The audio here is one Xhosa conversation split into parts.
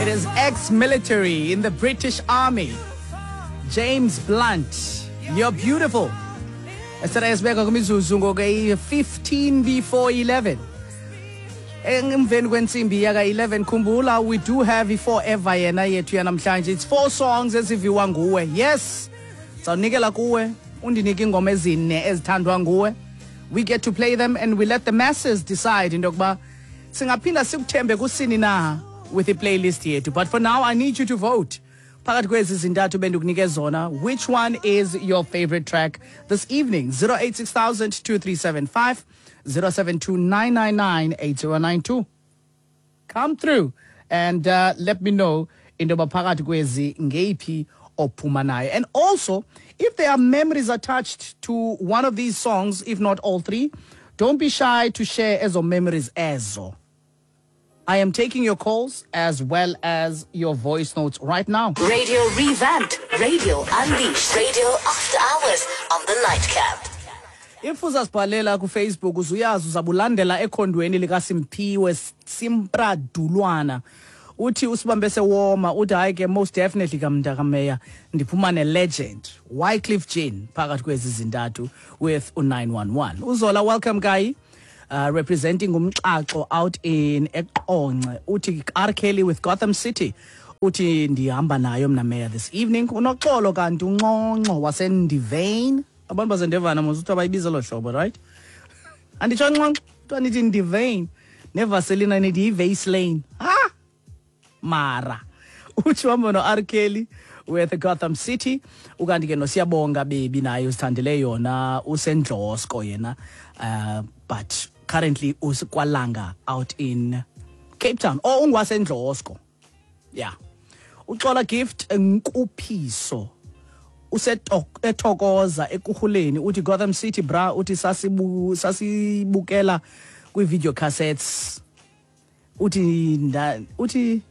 It is ex-military in the British Army, James Blunt. You're beautiful. Esele esibeka kwimizuzu ngoku 15 before 11. Emveni kwentsimbi yaka-11, khumbula we do have i-forever yena yethu yanamhlanje. It's four songs eziviwa nguwe. Yes, sawunikela kuwe, undinike iingoma ezine ezithandwa nguwe. We get to play them and we let the masses decide into yokuba singaphinda sikuthembe kusini na with i-playlist yethu. But for now, I need you to vote. Phakathi kwezi zintathu bendikunike zona, which one is your favorite track this evening? 086 2375, 072 999 8092. Come through and let me know into yoba phakathi kwezi ngeyiphi ophuma nayo. And also, if there are memories attached to one of these songs, if not all three, don't be shy to share ezo memories ezo. I am taking your calls as well as your voice notes right now. Radio revamped, Radio unleashed, Radio after hours on the Nightcap. If uzasibhalela kuFacebook, uzuyazi uzabulandela ekhondweni likaSimphiwe Simpradulwana. Uthi usibambe sewoma, uthi hayi ke, most definitely kamntakameya, ndiphuma ne-legend Wyclef Jean phakathi kwezi zintathu with u-911. Uzola welcome guy, representing umxaxo out in eQonce, uthi R Kelly with Gotham City. Uthi ndihamba nayo mna meya this evening. Unoxolo kanti unxonxo waseNdivane. Abantu baseNdevana mos uthi abayibiza lo hlobo, right? Anditsho nxonxo, kuthiwa nithi Ndivane, nevaselina nithi yiVaseline. Ha, mara uthi uhamba no-R Kelly with Gotham City. Ukanti ke noSiyabonga bebi naye usithandele yona, usendlosko yena, but currently usekwalanga out in Cape Town or ungwasendlosko, yeah. Uxola Gift Nkuphiso usethokoza ekuhuleni, uthi Gotham City bra. Uthi sasibukela kwi-video cassettes. Uthi uthi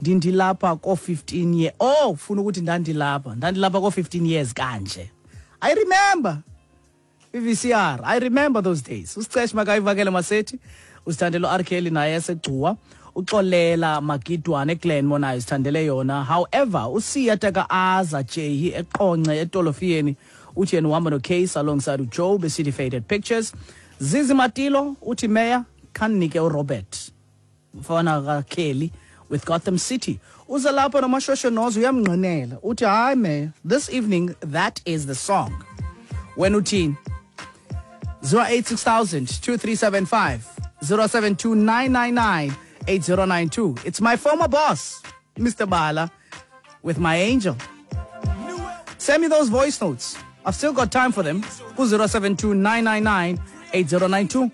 ndindilapha ko-15 year. Oh, ufuna ukuthi ndandilapha ko-15 years kanje. I remember i-VCR, I remember those days. Usicesh makayivakele masethi, usithandele u-R Kelly naye esegcuwa. Uxolela Magidwane eGlenmore naye usithandele yona. However, uSiya Taka Aza Jehi eQonce etolofiyeni uthi yena uhamba noCase alongside uJoe beCity Faded Pictures. Zizi Matilo uthi meya, khanike uRobert mfana kaKelly with Gotham City. Uza lapha noMashosho Nozo, uyamngqinela, uthi hayi meya, this evening that is the song. Wena uthini? 086 2375, 072 999 8092. It's my former boss, Mr. Bala, with My Angel. Send me those voice notes. I've still got time for them. 072 999 8092.